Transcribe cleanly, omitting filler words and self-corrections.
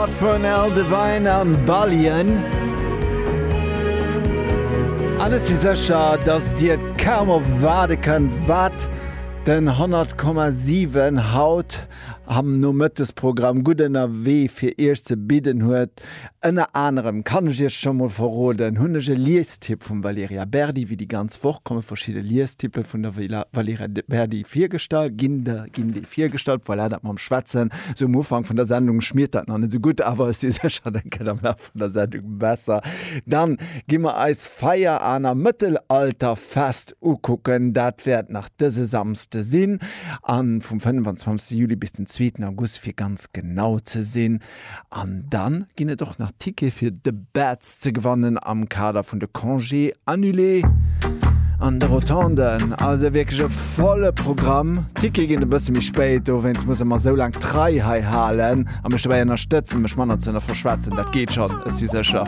Vun Al Devine an Ballion. An ech si sécher, dass Dir et kaum erwaarde kënnt, wat den 100,7 haut am Nomëttesprogramm gutt ënnerwee fir Iech ze bidden huet. Ënner anerem, kann ech Iech scho mol verroden, hunn ech e Liestipp vum Valerija Berdi. Wéi déi ganz Woch komme verschidde Liestippe vun der Valerija Berdi virgestallt, ginn ginn déi virgestallt. Voilà, dat mam Schwätzen sou um Ufank vun der Sendung schmiert dat nach net sou gutt, awer ech si sécher, dat gëtt am Laf vun der Sendung besser. Dann gi mer eis Veianer Mëttelalterfest ukucken. Dat wäert nach dëse Samsde sinn, a vum 25 Juli bis den zweeten August fir ganz genau ze sinn. An dann ginn et och nach Tickete fir The Bats ze gewannen am Kader vun de Congés annulés an de Rotonden. Also wierklech e volle Programm. D'Tickete ginn e bësse méi spéit, dowéinst muss e mer esou laang d'Rei hei halen a mech dobäi ënnerstëtzen, mech manner ze verschwätzen. Dat geet schonn, ech si sécher.